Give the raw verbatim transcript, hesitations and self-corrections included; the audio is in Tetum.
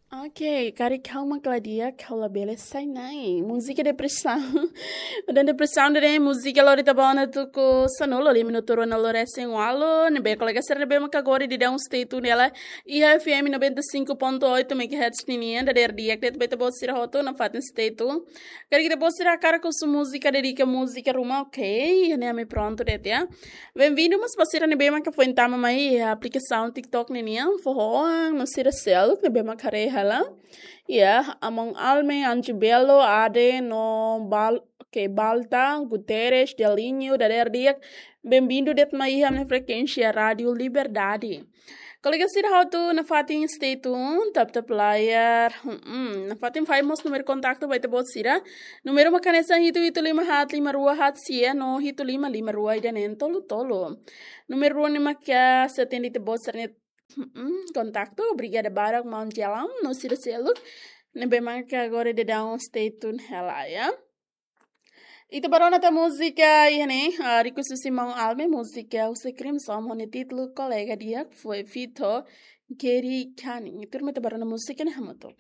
Ok, karik ha'u mak la di'ak, ha'u labele sai nai. Múzika depresaun. Udan depresaun de múzika lori ita-boot ona tuku sanulu, lima minutu rua na loresen walu, ne'ebé kolega sira ne'ebé maka agora daudaun stay tune hela iha F M noventa e cinco ponto oito megahertz ninian, dadeer di'ak de'it ba ita-boot sira hotu nafatin stay tune. Karik ita-boot sira hakarak husu múzika, dedika múzika ruma, ok, ne'e ami prontu de'it ya. Benvindu mós ba sira ne'ebé maka foin tama mai iha aplikasaun TikTok ninian, foho-oan no sira seluk ne'ebé maka haree hela. Ya, Amon Alme, Anju Belo, Ade no Bal, ok, Balta, Guterres, Delinho, dadeer di'ak. Benvindu de'it mai iha ami-nia frekuénsia Rádio Liberdade. Kolega sira hotu nafatin stay tune, tap tap layar. Hmm, nafatin fahe mós númeru kontaktu ba ita-boot sira. Númeru mak hanesan hitu hitu lima haat lima rua haat sia no hitu lima lima rua ida neen tolu tolu. Númeru rua ne'e maka sei atende ita-boot sira-nia, hmm, kontaktu. Obrigada barak maun Jelam no sira seluk ne'ebé maka agora daudaun stay tune hela ya. Ita bá rona tan múzika iha ne'e, ah, request husi maun Alme, múzika husi Crimson ho nia títulu Kolega Di'ak, foin feat ho Gary Canning. Turma, ita bá rona múzika ne'e hamutuk.